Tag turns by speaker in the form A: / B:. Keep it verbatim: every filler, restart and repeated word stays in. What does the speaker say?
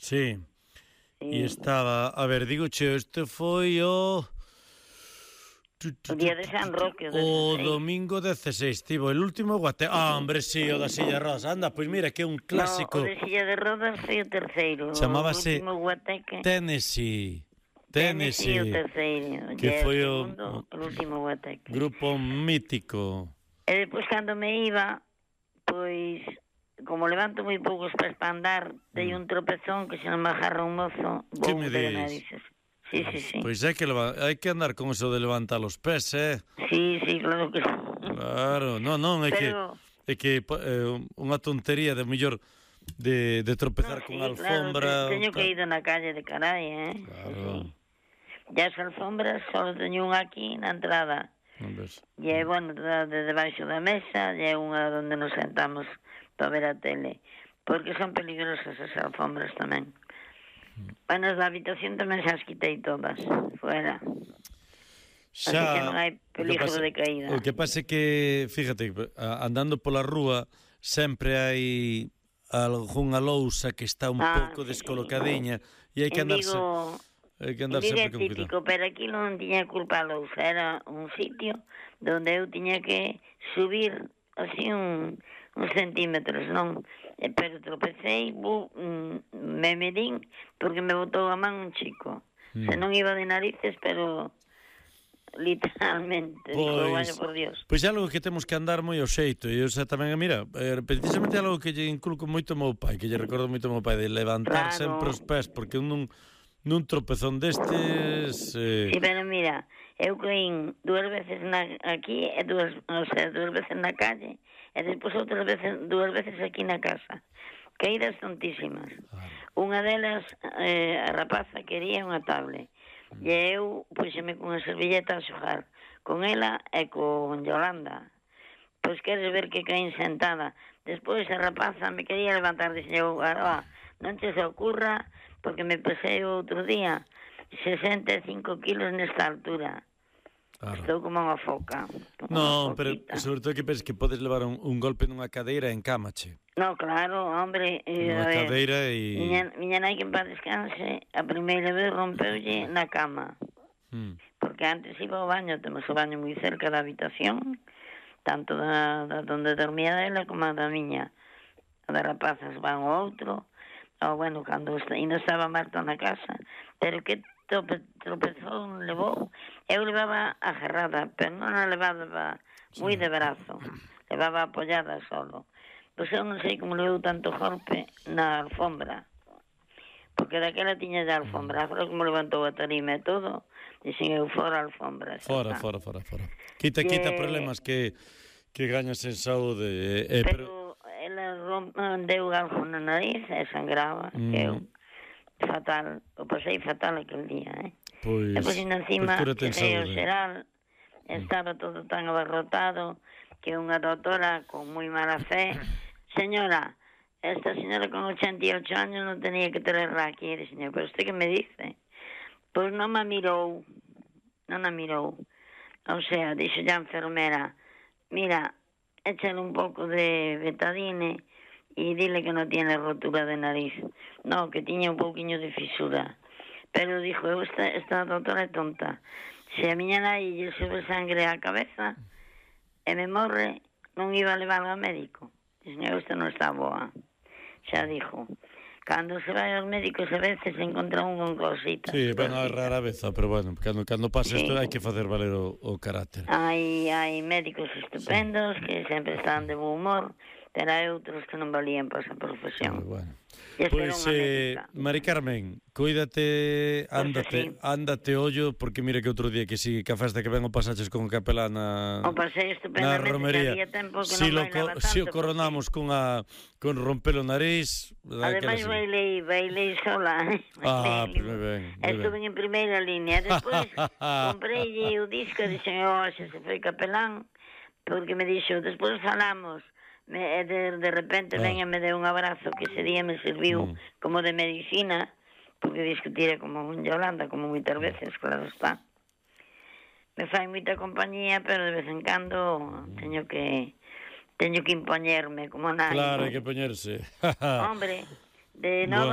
A: Sí.
B: Sí.
A: E estaba, a ver, digo che, este foi o...
B: O día de San Roque, o
A: O
B: dezasseis.
A: domingo dezasseis, tivo el último guate. Ah, hombre, sí, o da silla rosa. Anda, pois mira, que é un clásico.
B: No, o de silla de rodas foi o terceiro.
A: Chamábase
B: O último guateque.
A: Tennessee.
B: Tennessee o
A: Tennessee.
B: terceiro.
A: Que
B: E
A: foi
B: o
A: o,
B: segundo, o último guateque.
A: grupo mítico.
B: E depois, cando me iba, pois, como levanto moi poucos pés para andar, dei un tropezón que se non me agarra un mozo,
A: Que
B: vou
A: me
B: de
A: dis?
B: narices. Sí, sí, sí.
A: Pois hai que, leva- hai que andar con eso de levantar os pés, eh?
B: Sí, sí, claro que sí.
A: Claro, non, non, é que
B: Pero-
A: é que eh, unha tontería de mellor de, de tropezar
B: No,
A: con
B: sí,
A: alfombra.
B: claro, te- teño
A: tal.
B: que ir na calle de carai, eh?
A: Claro.
B: Sí, sí. E as alfombras só teño unha aquí na entrada.
A: Non ves?
B: E é, bueno, de, de debaixo da mesa, e é unha onde nos sentamos para ver a tele. Porque son peligrosas as alfombras tamén. Bueno, as da habitación tamén xa as quitei todas, fuera. Así que non hai peligro
A: o que pasa-
B: de caída.
A: O que pasa é que, fíjate, a- andando pola rúa sempre hai algunha lousa que está un
B: Ah,
A: pouco
B: sí,
A: descolocadiña e hai que
B: En
A: andarse
B: Vigo,
A: hai que
B: en
A: andar
B: Vigo é
A: sempre con cuidado.
B: típico, pero aquí non tiña culpa a lousa. Era un sitio donde eu tiña que subir así un, uns centímetros, non? E, pero tropecei, bu, mm, me medín, porque me botou a man un chico.
A: Mm.
B: Se non iba de narices, pero literalmente, digo, vaya por Dios.
A: Pois é algo que temos que andar moi ao xeito e eu xa tamén, mira, eh, precisamente algo que lle inculco moito ao meu pai, que lle recordo moito ao meu pai, de levantar
B: Claro.
A: sempre os pés, porque nun, nun tropezón destes... Eh,
B: Sí, pero mira, eu caín dúas veces na, aquí e dúas, o sea, dúas veces na calle e despois outras veces, dúas veces aquí na casa. Caídas tontísimas. Unha delas, eh, a rapaza quería unha tablet. E eu puxeme con a servilleta a xogar con ela e con Yolanda. Pois queres ver que caín sentada. Despois a rapaza me quería levantar, dixen eu, ah, non che se ocurra, porque me pesei outro día sesenta e cinco kilos nesta altura.
A: claro.
B: Estou como unha foca. Como
A: Non,
B: unha
A: pero
B: foquita.
A: sobre todo que penses que podes levar un, un golpe nunha cadeira en cámache.
B: No, claro, hombre. Eh,
A: Nunha
B: a ver,
A: cadeira e...
B: miña, miña nai que en paz descanse, a primeira vez rompeulle na cama.
A: Mm.
B: Porque antes iba ao baño, temos o baño moi cerca da habitación, tanto da, da donde dormía dela como a da miña. A das rapazas van ao outro, ou bueno, cando est- ainda estaba Marta na casa, pero que trope, tropezón levou, eu levaba agarrada, pero non a levaba moi de brazo, levaba apoyada solo. Pois eu non sei como levou tanto golpe na alfombra, porque daquela tiña ya alfombra, agora como levantou a tarima e todo, dixen eu fora a alfombra. xa
A: Fora,
B: está.
A: fora, fora, fora. Quita,
B: Que-
A: quita problemas que, que gañas en saúde. Eh, pero...
B: Pero ela romp, deu algo na nariz e sangraba,
A: Mm.
B: que eu fatal, o pasei fatal aquel día, eh?
A: Pois,
B: E pois encima,
A: pois cúrate en
B: cheguei ao
A: saúde.
B: xeral, estaba todo tan abarrotado que unha doutora con moi mala fe, señora, esta señora con ochenta e ocho años non tenía que traerla aquí, e señor, pero usted que me dice? Pois non me mirou, non a mirou, o sea, dixo a enfermera, mira, échale un pouco de betadine e dile que non tiene rotura de nariz, no, que tiña un pouquiño de fisura. Pero dixo, eu esta, esta doutora é tonta. Se a miña nai lle sube sangre á cabeza e me morre, non iba a levar ao médico. Dixen, eu esta non está boa. Xa dixo. Cando se vai aos médicos a veces se encontra un con cositas.
A: Sí, bueno, é rara vez, pero bueno, cando, cando pasa isto
B: Sí.
A: hai que facer valer o, o carácter.
B: Hai, hai médicos estupendos que sempre están de bo humor, pero hai outros que non valían para esa profesión.
A: Pero bueno.
B: E esta era
A: Pois,
B: unha
A: eh,
B: médica.
A: Mari Carmen, cuídate, ándate,
B: sí.
A: ándate ollo, porque mira que outro día que si que a festa que ven o pasaches con o capelán na,
B: O pasei
A: na
B: estupendamente,
A: romería.
B: había tempo que
A: Si,
B: non
A: lo,
B: bailaba
A: co-
B: tanto.
A: si o coronamos cunha, con romper o nariz,
B: Ademais
A: sí.
B: bailei, bailei sola.
A: Ah,
B: Bailei.
A: moi ben, moi
B: Estuve
A: ben.
B: en primeira línea. Despois comprei o disco e dixen, oh, xa se foi capelán, porque me dixo, despois falamos. Me, e de, de repente
A: Ah.
B: ven e me deu un abrazo que ese día me serviu
A: Mm.
B: como de medicina, porque discutira como un Yolanda, como moitas veces, claro está. Me fai moita compañía, pero de vez en cando teño que teño que impoñerme como nai.
A: Claro, hai que poñerse.
B: Hombre, de nova